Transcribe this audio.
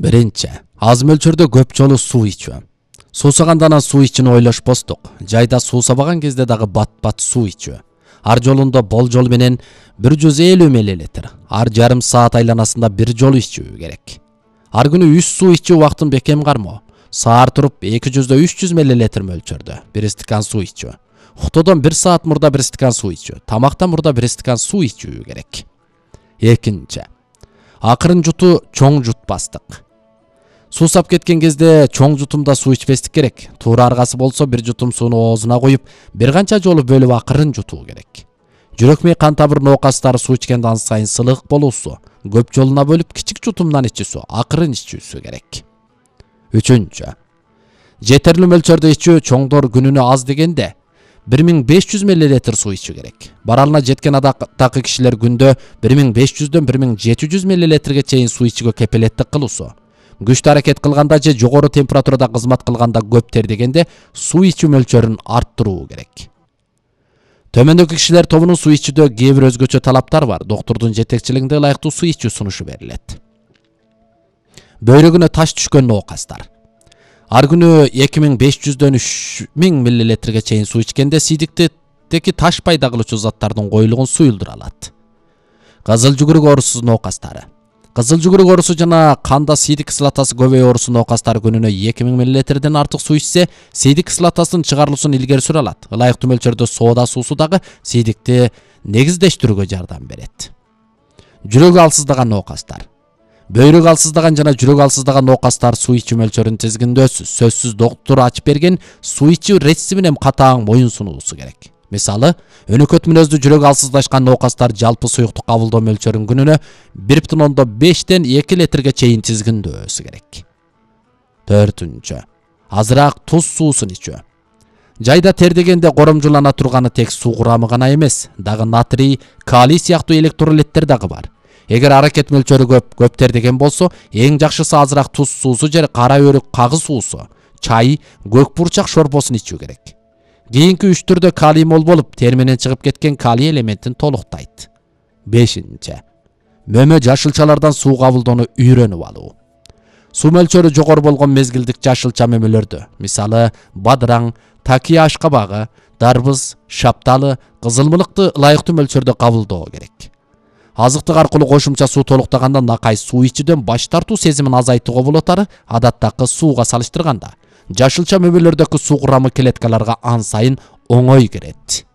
Биринчи, аз мөлчөрдө көп жолу суу ичүү. Суусагандан суу ичүүнү ойлошпостук. Жайда суусабаган кезде дагы бат-бат суу ичүү. Ар жолунда болжол менен 150 мл, ар жарым саат айланасында бир жолу ичүү керек. Ар күнү 3 суу ичүү убактын бекем кармоо. Саар туруп 200-300 мл мөлчөрдө 1 стакан суу ичүү. Уктоодон 1 саат мурда 1 стакан суу ичүү. Тамактан мурда 1 стакан суу ичүү керек. Экинчи, акырын жутуу чоң жутпастык. Суусап кеткен кезде чоң жутумда суу ичпестик керек. Туура аргасы болсо бир жутум сууну оозуна коюп, бир канча жолу бөлүп акырын жутуу керек. Жүрөк мээ кан тамыр ноокастары суу ичкенде ан сайын сылык болуусу, көп жолуна бөлүп кичик жутумдан ичүүсү, акырын ичүүсү керек. Үчүнчү, жетерлүү мөлчөрдө ичүү. Чоңдор күнүнө аз дегенде 1500 мл суу ичүү керек. Баралына жеткен адактагы кишилер күндө 1500-дөн 1700 мл чейин суу ичүүгө кепилеттик кылуусу. Күчтүү аракет кылганда же жогору температурада кызмат кылганда көп тердегенде суу ичүү мөлчөрүн арттыруу керек. Төмөндөгү кишилер тобунун суу ичүүдө кээ бир өзгөчө талаптар бар. Доктурдун жетекчилигинде ылайыктуу суу ичүү сунушу берилет. Бөйрөгүнө таш түшкөн ноокастар. Ар күнү 2500-дөн 3000 мл чейин суу ичкенде сийдиктеги таш пайда кылуучу заттардын коюлугун суюлдура алат. Кызыл жүгүрүк оорусу ноокастары. Кызыл жүгүрүк оорусу жана канда сийдик кислотасы көбөйүү оорусу ноокастары күнүнө 2000 мл артык суу ичсе, сийдик кислотасынын чыгарылуусун илгери сүрө алат. Ылайыктуу мөлчөрдө соода суусу дагы сийдикти негиздештирүүгө жардам берет. Жүрөгү алсыздаган ноокастар. Бөйрөк алсыздаган жана жүрөк алсыздаган ноокастар суу ичүү мөлчөрүн тизгиндөөсүз. Сөзсүз доктур ачып берген суу ичүү рецепти менен катаң моюн сунуусу керек. Мисалы, өнөкөт мүнөздүү жүрөк алсыздашкан ноокастар жалпы суюктук кабылдоо мөлчөрүн күнүнө 1,5-ден 2 литрге чейин тизгиндөөсү керек. Төртүнчү, азыраак туз суусун ичүү. Жайда тердегенде коромжулана турганы тек суу курамы гана эмес, дагы натрий, калий сыяктуу электролиттер дагы бар. Эгер аракет мөлчөрү көп тердеген болсо, эң жакшысы азыраак туз суусу же кара өрүк кагы суусу, чай, көк бурчак шорпосун ичүү керек. Кийинки 3 түрдө калий мол болуп, тери менен чыгып кеткен калий элементин толуктайт. Бешинчи, мөмө жашылчалардан суу кабылдоону үйрөнүп алуу. Суу мөлчөрү жогору болгон мезгилдик жашылча мөмөлөрдө, мисалы, бадыраң, такия ашкабагы, дарбыз, шапталы, кызылмылыкты ылайыктуу мөлчөрдө кабылдоо керек. Азыктык аркылуу кошумча суу толуктаганда накай суу ичүүдөн баш тартуу сезимин азайтууга болот, адаттагы сууга салыштырганда. Жашылча мөмөлөрдөгү суу курамы клеткаларга ан сайын оңой кирет.